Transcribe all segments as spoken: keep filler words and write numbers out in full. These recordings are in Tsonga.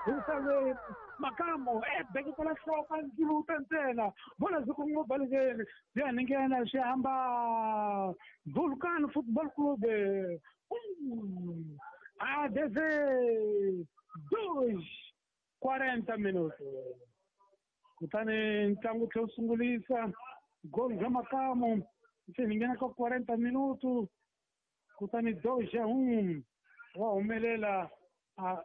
Hikuva Makamu e beketela nhloko ndzuluta ntsena bola byi kongoma balekeni byi ya nghena swi hamba Vulcan Football Club um a deze dois quarenta minutos kutani ntlangu tlhe wu sungulisa gol bya Makamu se ni nghena ka quarenta minutos kutani dois a um wa humelela a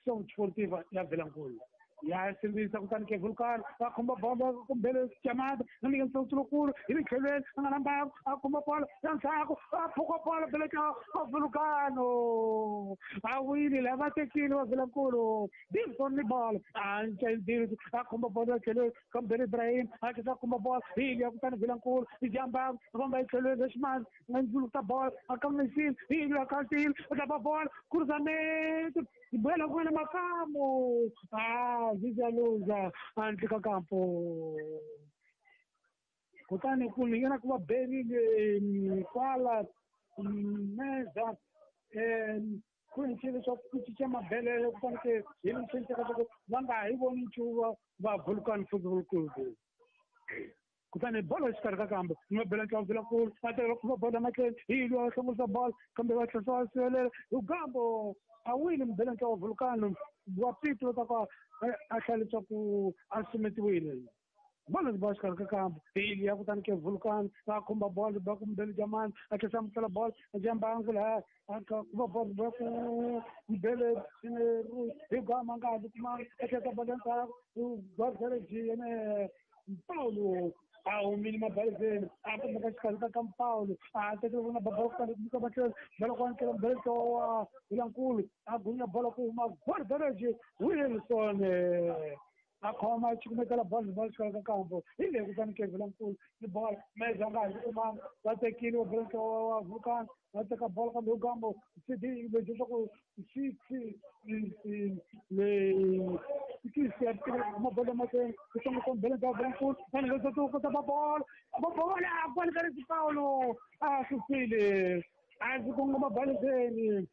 Associação Desportiva ya Vilankulu ya sindzisa kutani ke Vulcan va khomba bolo kumbele chamada na ninguém são loucura ele tlhelweni a nga na mbangu a khomba bolo ya ndzhaku a phuka bolo bele ka Vulcano a wile lava tekile va Vilankulu Dilson ni bolo a nca a khomba bolo ya tlhelweni kambele Ibrahim a tlhela a khomba bolo hi ya kutani Vilankulu i jamba famba hi tlhelweni leximani nga ndzuluta bolo a kamisile hi ya kantile a tlapa bolo cruzamento Bueno, bueno, Makamu. Ah, Zizaluza, handle ka kampo. Kutani ku nghena ku va Beni kwala meza ku ni leswaku ku cinca mabelele kutani ke hi ni cinca ka ku va nga hi voni nchumu va Vulcan Football Club. Kutani bolo exikarhi ka kambe mabele ntlangu Vilankulu a tekela ku va bolo emahlweni hi lwa hlongorisa bolo kambe va tlhela va sivelela hi gambo a wile mubele ntlangu wa Vulcano wa Pito ta ka a hlaya leswaku a sumetiwile bolo ba xikarhi ka kambe hi ya kutani ke Vulcano va khumba bolo ba ku mubele jamani a tlhela amukela bolo a jambangu laha a va bolo ba ku mubele hi gama nga ha kumanga a tlhela bolo ndzhaku Gorgereji yene Paulo a humile mabalezeni a kumeka xikarhi ka ka Paulo a tekela vona bolo kutani kumeka matlhelo bolo ku amukela mubele wa Vilankulu a gunya bolo ku huma Gorgereji Wilson a khoma cukumetela bolo bolo xikarhi ka kampo hi leyi kutani ke Vilankulu ni bolo meza nga ha kumanga va tekile va bolo wa Vulcan va teka bolo kambe hi gambo C D leswaku six le six ya mabolo mahlweni ku hlongorisa mubele wa Vilankulu vanhu leswaku kota va bolo va bolo a bolo ka ri Paulo a susile a ndzi kongoma balezeni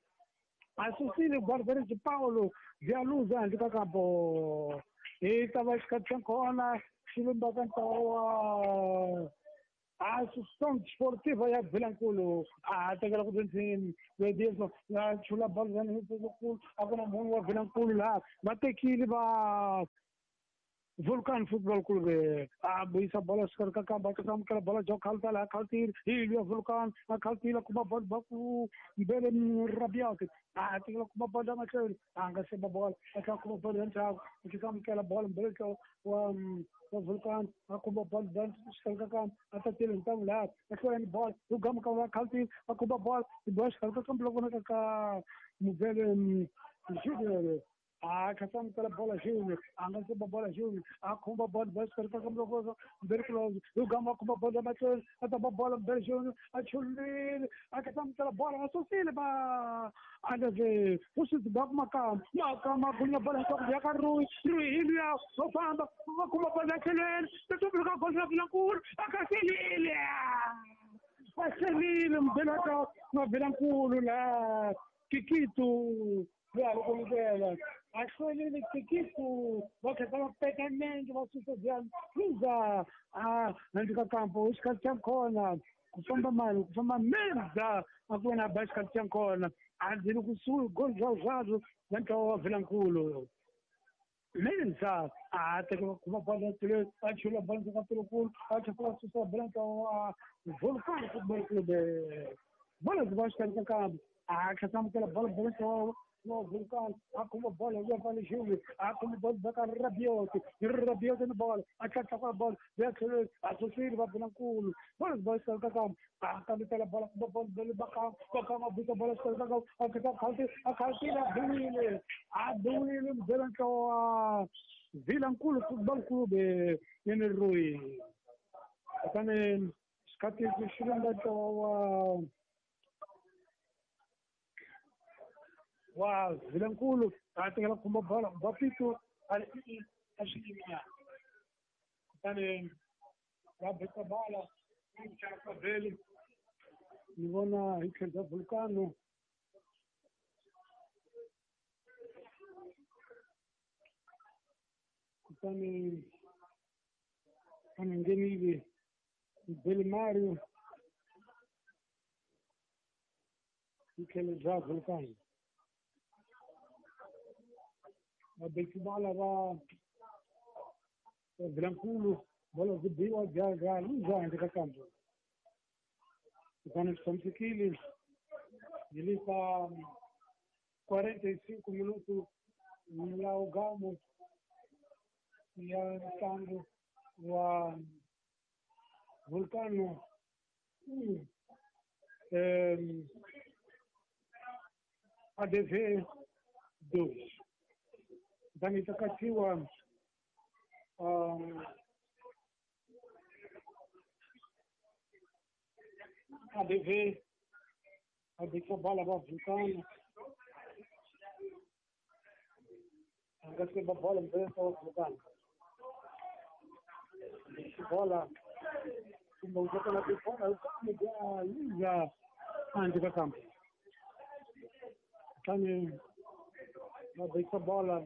a susile Gorgereji Paulo Zialuza handle ka kampo hi ta va xikhathi xa kona xi lumbaka ntlawa wa Associação Desportiva ya Vilankulu a tekela ku dyondzeni Edilson a chula bolo Vilankulu a ku na munhu wa Vilankulu laha va tekile va Vulcan Football Club a vuyisa bolo xikarhi ka kamba a amukela bolo jo khalta laha khaltile hi ya Vulcan a khaltile kuma bolo ba ku mbele Rabiot a tekela kuma bolo mahlweni a nga seba bolo a tlhela kuma bolo ya ndzhaku a tlhela amukela bolo mbele wa wa Vulcan a khumba bolo xikarhi ka kamba a tatile ntangu laha a hlwela ni bolo hi gama ka va khaltile a khumba bolo hi bola xikarhi ka kamba loko vonaka ka mubele Junior a kha amukela bola Junior a nga seba bola Junior a khumba bolo bolo xikarhi ka kamba loko mbele close hi gama a khumba bolo mahlweni a tapa bolo mbele Junior a chulile a kha amukela bolo a susile ba andaze usisi ba ku Makamu Makamu a gunya bolo nhloko ya ka Rui Rui hi luya wo famba va khumba bolo ya tlhelweni tumbuluka gol ra Vilankulu a kha selile a selile mubele wa wa Vilankulu laha Kikito ya loko ndlela a hlwelile Kikito va kha va peka nenge va susa Zialuza a handle ka kampo xikhathi xa kona ku famba mali ku famba meza a ku na ba xikhathi xa kona a ndzi kusuhi gol zwa zwazwo na ntlawa wa Vilankulu Menza a teka kuma bolo tlhelo a chula bolo ka Vilankulu a tlhela susa bolo ntlawa wa Vulcan Football Club bolo byi xikarhi ka kampo a tlhela amukela bolo bolo ntlawa wa Vulcan a khumba bolo ya pale Junior a khumba bolo ba ka Rabiot Rabiot ni bolo a tlhela ka bolo ya tlhelo a susile va Vilankulu bolo byi xikarhi ka kampo a kambetela bolo kumba bolo bolo ba ka ba ka ma buta bolo xikarhi ka kampo a tlhela khalti a khaltile a biwile a biwile mubele ntlawa wa Vilankulu Football Club yene Rui kutani xikhathi xi lumba ntlawa wa wa Vilankulu a tekela khumba bolo ba Pito a a swi yiminyana kutani va beka bola vhele ni vona hi tlhelo bya Vulcano Kutani a nghenile Belimario hi tlhelo bya Vulcan. Vabekibala va Vilankulu bola byi biwa bya bya luza handle ka kambu. Kutani swi tshamisekile hi le ka quarenta e cinco minuto milawu ya ntlangu wa Vulcano um A D V dois. Kutani ta katsiwa um, A D V a beka bola va Vulcano a nga se ba bola mbele wa Vulcano bola kumbe u kota ku bola kambe ya luza handle ka kambe. Kutani va beka bola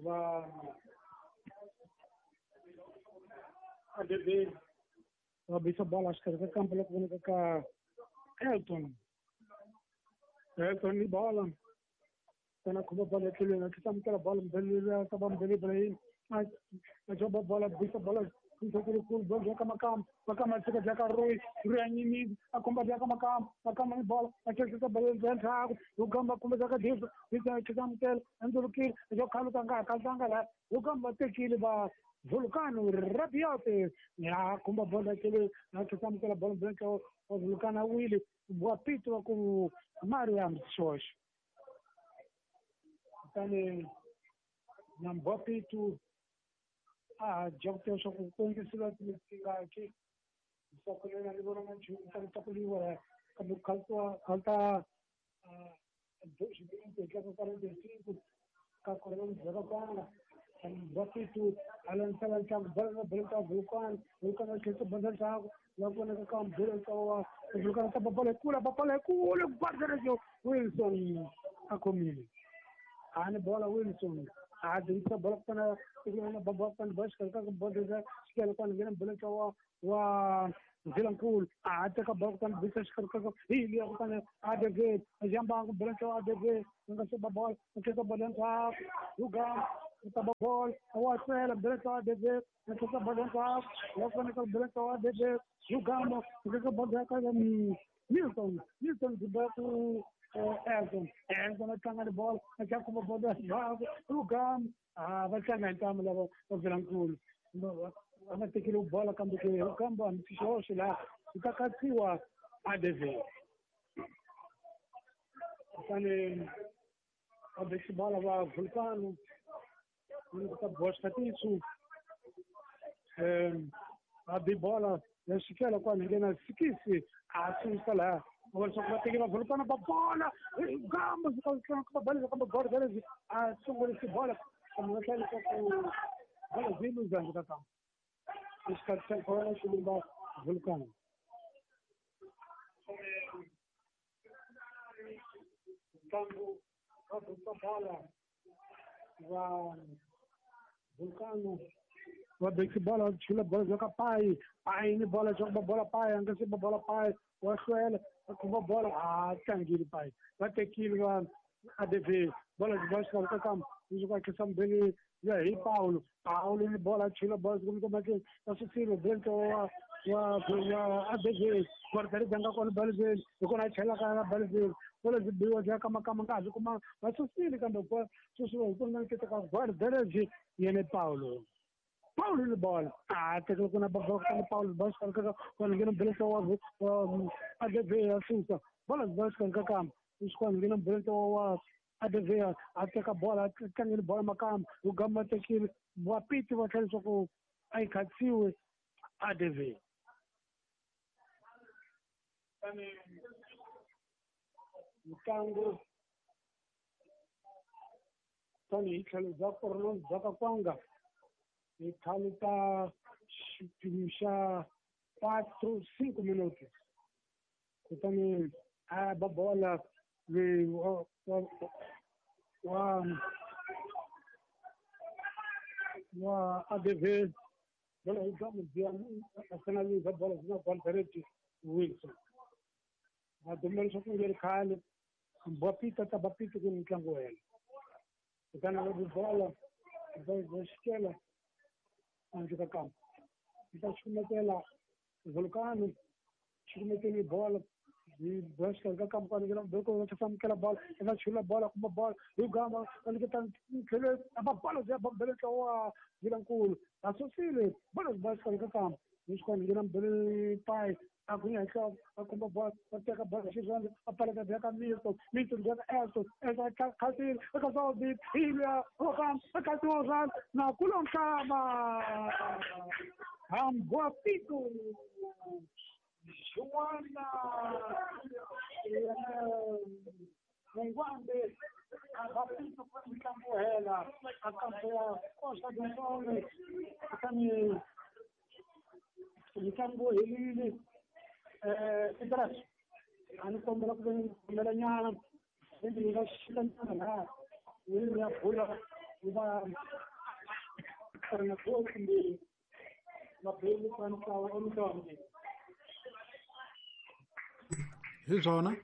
va A D V va bisa bola xikarhi ka kampo loko vonaka ka Elton. Elton ni bola kana khoma bola etlhelweni a tlhela amukela bola mbele ta va mbele Ibrahim a a bola bisa bola ntlhokolo bola bya ka Makamba Makamba a tshika bya ka Roy Roy a nyimile a komba bya ka Makamba Makamba ni bola a tlhela bola bya ndzhaku Lugamba kumbe bya ka Disa Disa a tlhela amukela a ndzulukile a xo khaluka nga ha khalutanga laha Lugamba tekile va Vulcano Rabiote ya khumba bola etlhelweni a tlhela amukela bola bya ntlhawu wa Vulcano a wile wa pito wa ku Mariam Xoxo. Kutani na Mbwapitu a dya ku tiva swa ku kongisiwa tingaki leswaku lena ni vona nga nchumu ta tlakuliwa kambe ku khalutiwa khaluta dois minutos hi tlanga quarenta e cinco ka kona ndzhaka kwanga Mbwapitu a landzela ntlangu bola na bola ta Vulcano Vulcano a tlhela bola ndzhaku la ku vonaka ka mbele ka wa Vulcano ta bola kula bola kula guarda Wilson a khomile a ni bola Wilson a dingisa bola kutana na baba kutani bola xikarhi ka bola xikele kwani nghena bola ka wa wa Vilankulu a teka bola kutani bisa xikarhi ka hi liya kutani A D V a jamba bola ka A D V nga se ba bola a teka bola ndzhaku Lugamba u ta ba bola wa tlhela bola ka A D V a teka bola ndzhaku ya faneka bola ka A D V Lugamba u teka bola ka Milton Milton ba ku Elton Elton a tlanga ni bola a tlanga khoma bola ndzhaku Lugamba a va tlanga hi ntamu lava va Vilankulu a va tekile bola kambe ke Lugamba hambi xihoxo laha ku ta katsiwa A D V. Kutani va beki bola va Vulcano ku ta boxa xikatiso um va bi bola ya xikela kwani nghena sikisi a susa laha va leswaku va tekela Vulcano va bola Gamba va bola kambe guarda a sungulisi bola kambe va tlhela leswaku bola byi luza handle ka kambe exikarhi xa kona xi lumba Vulcano. Ntlangu va bisa bola va Vulcano va beki bola chula bola bya ka Pai Pai ni bola bya ba bola Pai a nga se ba bola Pai wa hlwela a khoma bola a tlangile Pai va tekile va A D V bola byi ba xikarhi ka kambe leswi ku akhisa mbele ya hi Paulo Paulo ni bola chula bola kumbe matlhelo va susile Brent wa wa wa A D V guarda ri nga kona baliveli hi kona a chelaka ka baliveli bola byi biwa bya ka Makamba nga ha byi kuma va susile kambe ku susiwa hi kona nkete ka guarda yene Paulo Paulo ni bola a tekela kuna baba ka Paulo ba xikarhi ka kona nghena mbele wa A D V ya susa bola byi ba xikarhi ka kambe leswi kona nghena mbele wa A D V a teka bola a tlangile bola Makamba Lugamba tekile Wapiti va tlhela leswaku a yi khatsiwe A D V. Ntlangu tanihi tlhelo bya Korolong bya ka Kwanga hi khaluta xiphemu xa quatro cinco minutos kutani a ba bola loyi wa wa wa Wa A D V bola yi ga mudziya a finaliza bola zina bola direct Wilson va dumela leswaku nge ri khale bapita ta bapita ku mitlangu wa hela kutani va bola va va xikela handle ka kampa yi ta xukumetela Vulcano xukumeteli bola hi boxa ka kampa ni ngela beko va tsamukela bola va chula bola kuma bola hi gama va niketa tlhelo va bola ya bambele tlawa Vilankulu a susile bola ba xikarhi ka kampa ni xikwana ngena mbele pai a ku henhla a komba bola a teka bola xirhandza a paleka bya ka Milton Milton bya ka Elton Elton khasile eka Saudi Ilya Rokan eka Tozan na kulonhlaba hambwa pito Joana Mungwambe abapito kwa mtlangu hela akampo ya Costa do Sol kutani mitlangu helile eh Idras a ni kombela ku kombela nyana ni nga xika nyana laha ni ya bula ni va ri na kumbe mabeli ka ntlawa o mintlawa hi swona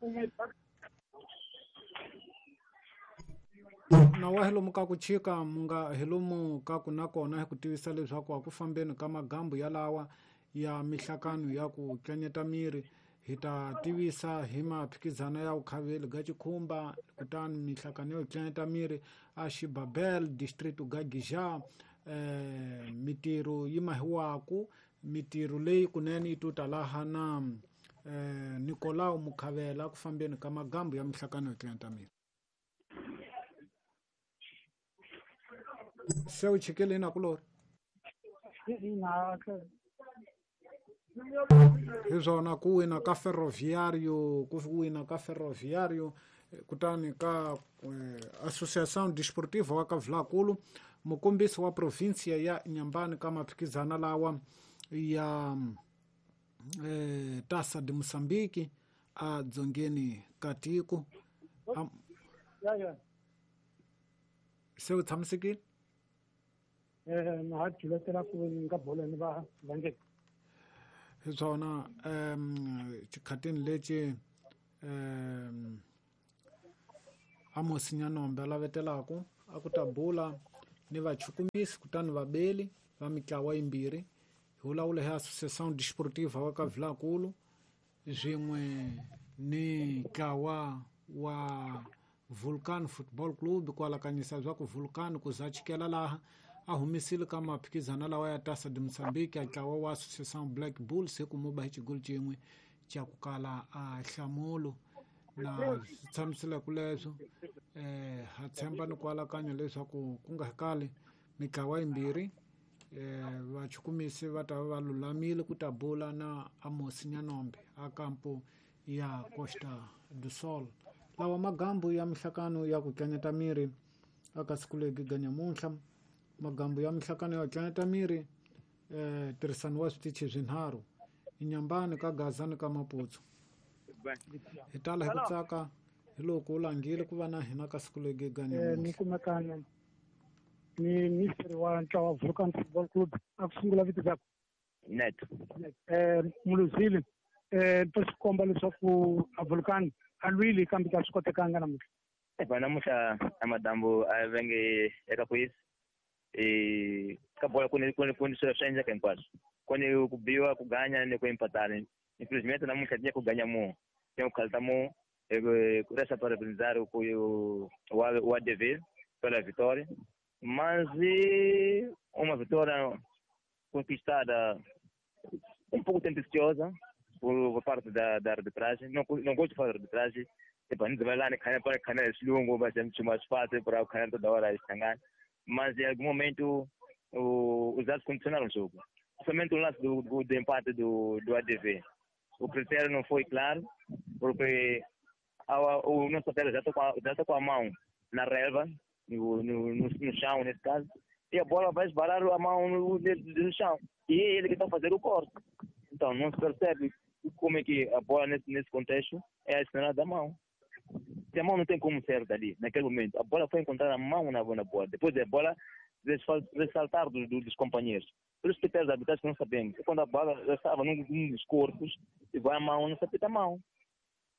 na wa hi lomu ka ku chika mu nga hi lomu ka ku nakona hi ku tivisa leswaku a ku fambeni ka magambu yalawa ya mihlakano ya ku tlanyeta miri hi ta tivisa hi maphikizano ya vukhaveli ga Chikhumba kutani mihlakano yo tlanyeta miri a Xibabel district ga Gija eh mitirho yi mahiwaku mitirho leyi kunene yi tuta laha na eh Nicolau Mukhavela ku fambeni ka magambu ya mihlakano yo tlanyeta miri se u chikele na kulori hi swona ku wina ka Ferroviário ku wina ka Ferroviário kutani ka eh, Associação Desportiva wa ka Vilakulu mukombisi wa provinsia ya Inhambane ka maphikizana lawa ya eh, Taça de Moçambique a dzongeni ka tiko ya ya se u tshamisekile eh na ha tshulekela ku nga bola ni va vange hi swona um xikhatini lexi um Amos Nyanombe a lavetelaku a ku ta bula ni vachukumisi kutani vabeli va mitlawa yimbirhi hi vulavula hi Associação Desportiva wa ka Vilakulu swin'we ni ntlawa wa Vulcan Football Club ku alakanyisa swa ku Vulcan ku za chikela laha a humisile ka maphikizano lawa ya Taça de Moçambique a ntlawa wa Associação Black Bulls hi ku muba hi xigolo xin'we xa ku kala a hlamulo na swi tshamisile ku leswo eh ha tshemba ni ku alakanya leswaku ku nga kali mitlawa yimbirhi eh vachukumisi va ta va lulamile ku ta bula na Amos Nyanombe a kampo ya Costa do Sol lawa magambu ya mihlakano ya ku tlanyeta miri aka siku legi ga nyamuntlha magambu ya mihlakano ya ku tlanyeta miri eh tirhisano wa switichi swinharhu Inhambane ka Gaza ni ka Maputo hi tala hi ku tsaka hi loko u langile ku va na hina ka siku legi ga ni kumekana ni ministri wa ntlawa wa Vulcan Football Club a ku sungula vito ra Net eh Muluzile eh to swi komba leswaku a Vulcan a lwile kambe ka swi kotekanga namuntlha eba namuntlha a madambu a va nge eka kwisi eh ka bola ku ni ku ni ku ni swilo swi endleka hinkwaswo ku ni ku biwa ku ganya ni ku empatana infelizmente namuntlha tinha ku ganya mu tem ku khalta mu ku resta parabenizar o o A D V pela vitória, mas uma vitória conquistada um pouco tendenciosa por parte da, da arbitragem. Não, não gosto de falar de arbitragem. Tipo, a gente vai lá para canal esse longo, vai ser muito mais fácil para o canal toda hora estangar. Mas em algum momento o, os dados condicionaram o jogo. Somente o lance do, do, do empate do, do A D V. O critério não foi claro, porque a, a, o nosso atleta já está com, já com a mão na relva, no, no, no, no chão, nesse caso, e a bola vai esbarar a mão no, no chão. E é ele que está a fazer o corte. Então, não se percebe como é que a bola, nesse, nesse contexto, é acionada da mão. Se a mão não tem como ser dali, naquele momento, a bola foi encontrar a mão na, na bola. Depois a bola ressaltar dos, dos companheiros. Pelos critérios de arbitragem que não sabemos. Quando a bola já estava num, num dos corpos e vai a mão, não se apita a mão.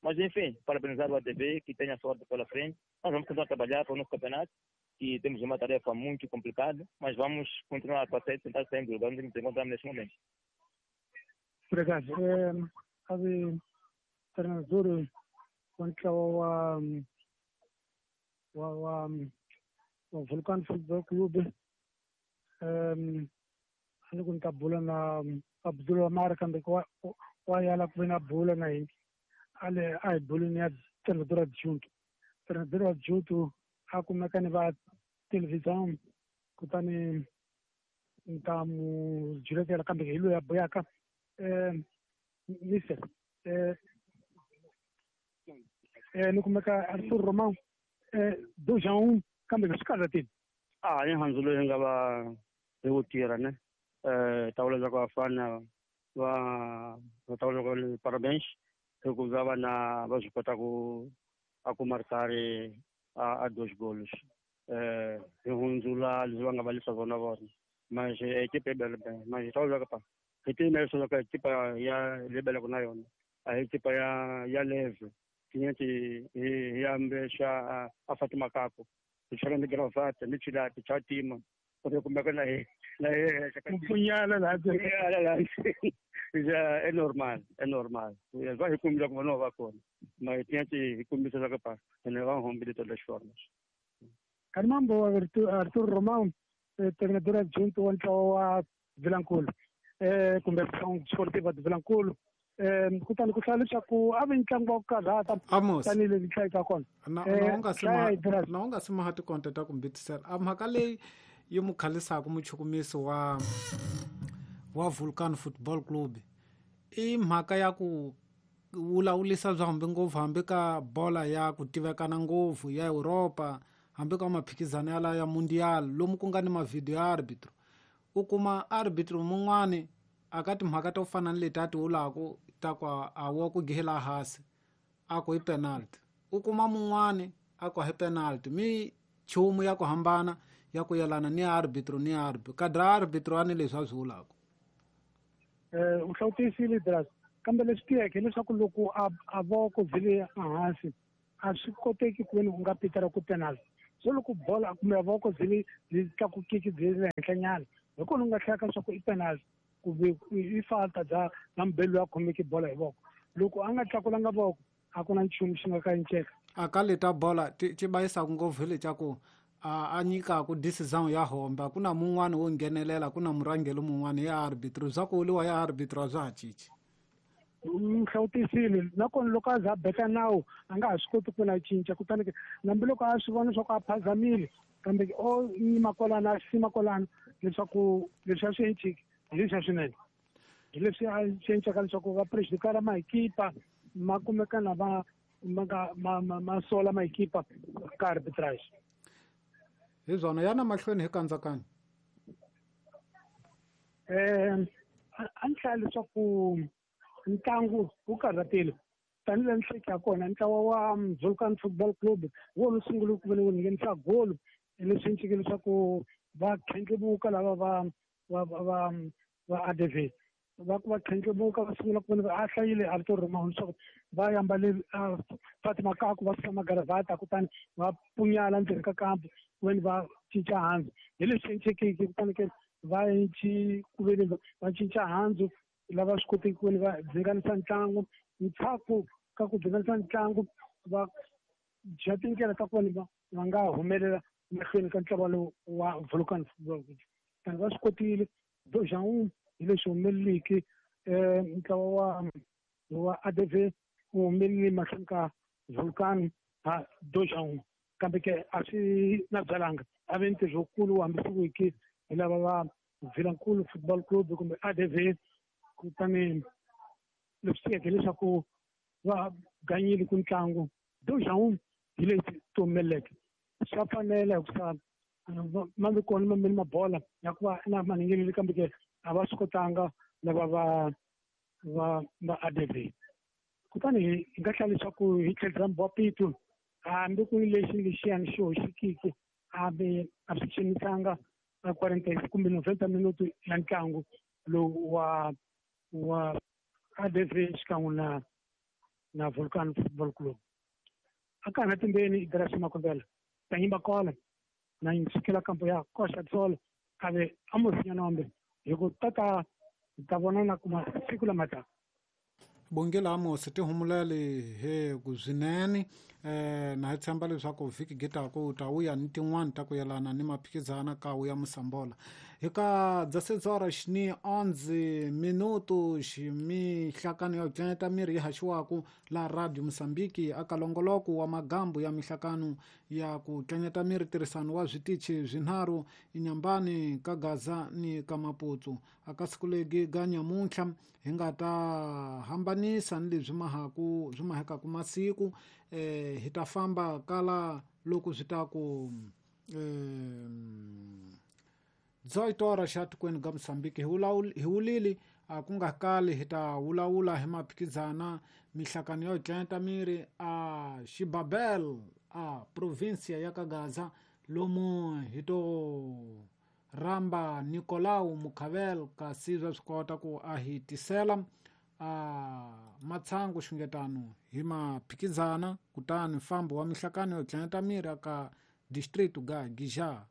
Mas, enfim, parabenizar o A D V, que tenha sorte pela frente. Nós vamos continuar a trabalhar para o nosso campeonato, que temos uma tarefa muito complicada, mas vamos continuar a tentar sair do lugar onde nos encontramos neste momento. Obrigado. É, treinador, quanto ao ao ao Vulcano Futebol Clube, ani ku ni ta bula na Abdul Amar kambe wa yala ku ve na bula na hina ale a hi buleni ya treinador adjunto. Treinador adjunto a kumeka ni va televisão kutani ni ta mu jiretela kambe hi loyi a buyaka mister ni kumeka Arthur Romão dois a um kambe swi karhatini. A ni handzu loyi nga va hi wu tirha ne tawula za ku vafana va va tawula ku parabéns hikuva va na va swi kota ku a ku markari a a dois golos eh hi hundzula leswi va nga va lisa vona vona mas equipe e bela bem mas tawula ka pa hi tiyimela leswaku ka equipe ya lebela ku na yona a hi equipe ya ya leve tinheti hi ambexa a Fatima Kako hi chela ni gravata ni chilati cha tima ku kumeka na hi na hi mpfunyala laha ja é normal é normal va hi kumbila ku vona va kona mas tinheti hi kombisa leswaku pa ene va hombe de todas as formas. Carmambo Arthur Romão, treinador adjunto wa ntlawa wa Vilankulu eh kumbe Sportiva de Vilankulu eh kutani ku hlaya leswaku a vi ntlangu wa ku karhata tanihileswi hlayaka kona na na u nga si na u nga si maha tikonta ta ku mbitisela a mhaka leyi yi mu khalisaka muchukumisi wa wa Vulcan Football Club i mhaka ya ku wulawulisa bya hambi ngopfu hambi ka bola ya ku tivekana ngopfu ya Europa hambi ka maphikizano ya ya mundial lomu ku nga ni mavideo ya arbitro u kuma arbitro mun'wani aka timhaka to fana ni leti a ti wulaku ta ku a wa ku gihela hansi a ku i penalty u kuma mun'wani a ku hi penalty mi chumu ya ku hambana ya ku yelana ni arbitro ni arbitro kadra arbitro ani leswi a swi wulaku eh u hlawutisile dras kambe leswi tiyeke leswaku loko a a voko byi ehansi a swi koteki ku veni u nga pitela ku penalty so loko bola kumbe voko byi byi tlakukiki byi le henhlanyana hi kona u nga hlaya ka leswaku i penalty kumbe i falta bya na mubeli loyi a khomeke bola hi voko loko a nga tlakulanga voko a ku na nchumu xi nga ka enceka a ka leta bola ti bayisaka ngopfu hi lecaku a a nyikaku decision ya homba ku na mun'wani wo nghenelela ku na murhangeri mun'wani ya arbitro bya ku wuriwa ya arbitro a swa ha cinci hlawutisile nakona loko a za a beka nawu a nga ha swi koti ku na cinca kutani ke hambi loko a swi vona leswaku a phazamile kambe o yima kwalano a sima kwalano leswaku leswi a swi enciki hi leswiya swinene hi leswi a swi encaka leswaku va prejudicala mahikipa ma kumeka na va ma nga ma ma ma sola mahikipa ka arbitrage hi swona yana mahlweni hi kandzakanya um a ni hlaya leswaku ntlangu wu karhatile tanihileswi ni hleketa kona ntlawa wa Vulcan Football Club wona wu sungule ku veni wu nghenisa golo leswi encike leswaku va khendlemuka lava va va va va A D V va ku va khendlemuka va sungula ku veni a hlayile Arthur Romão leswaku va yambale Fatima Kaku va suka magaravata kutani va punyala ndzeni ka kampu ku veni va cinca handzu hi leswi encekeki kutani ke va enci ku veni va cinca handzu lava swi koteki ku veni va dzinganisa ntlangu ntshaku ka ku dzinganisa ntlangu va dya tindlela ta ku veni va va nga humelela mahlweni ka ntlawa lowu wa Vulcan Football Club tani va swi kotile dois a um hi leswi humeleliki um ntlawa wa wa A D V wu humelele mahlweni ka Vulcan ha dois a um kambe ke a swi na byalanga a ve ntirho wukulu wu hambisiwiki hi lava va Vilankulu Football Club kumbe A D V kutani leswi tiyeke leswaku va ganyile ku ntlangu dois a um hi leswi ti humeleleke swa fanela hikusa ma vi kona mameni mabola ya ku va na maningileli kambe ke a va swi kotanga lava va va va A D V kutani hi nga hlaya leswaku hi tlhelo ra Mbopitu hambi ku ri lexi lexiyani xi hoxekiki hambi a swi xanisanga quarenta kumbe noventa minuto ya ntlangu lowu wa wa A D V xikan'we na na Volcano Football Club. Aka na timbeni Graça Makombela tanyimba kola na yinsikela kampo ya Costa Sol ave Amos Nyanombe hi ku tata ta vonana kuma siku lamata. Bongela Amos tihumulele he ku swinene eh na hi tshemba leswaku vhiki gitako ta wuya ni tin'wana ta ku yelana ni maphikizana ka wuya Musambola. Hi ka dzasedzora xini onze minuto ximihlakano ya ku miri yi haxiwaku la Radio Mozambique aka longoloko wa magambu ya mihlakano ya ku tlanyeta miri tirhisano wa switichi swinharhu inyambani ka Gaza ni ka Maputo. Aka siku legi ga nyamuntlha hi nga ta hambanisa ni leswi mahaku swi mahekaku masiku eh hi ta famba kala loko swi ta ku eh dezoito horas xa tikweni ga Mozambique hi wulili a ku nga kali hi ta wulawula hi maphikizana mihlakano yo tlanyeta miri a Xibabel a provincia ya ka Gaza lomu hi to ramba Nicolau Mukhavel kasi swa swi kota ku a hi tisela a matshangu xungetano hi maphikizana kutani mfambo wa mihlakano yo tlanyeta miri aka distrito ga Gija.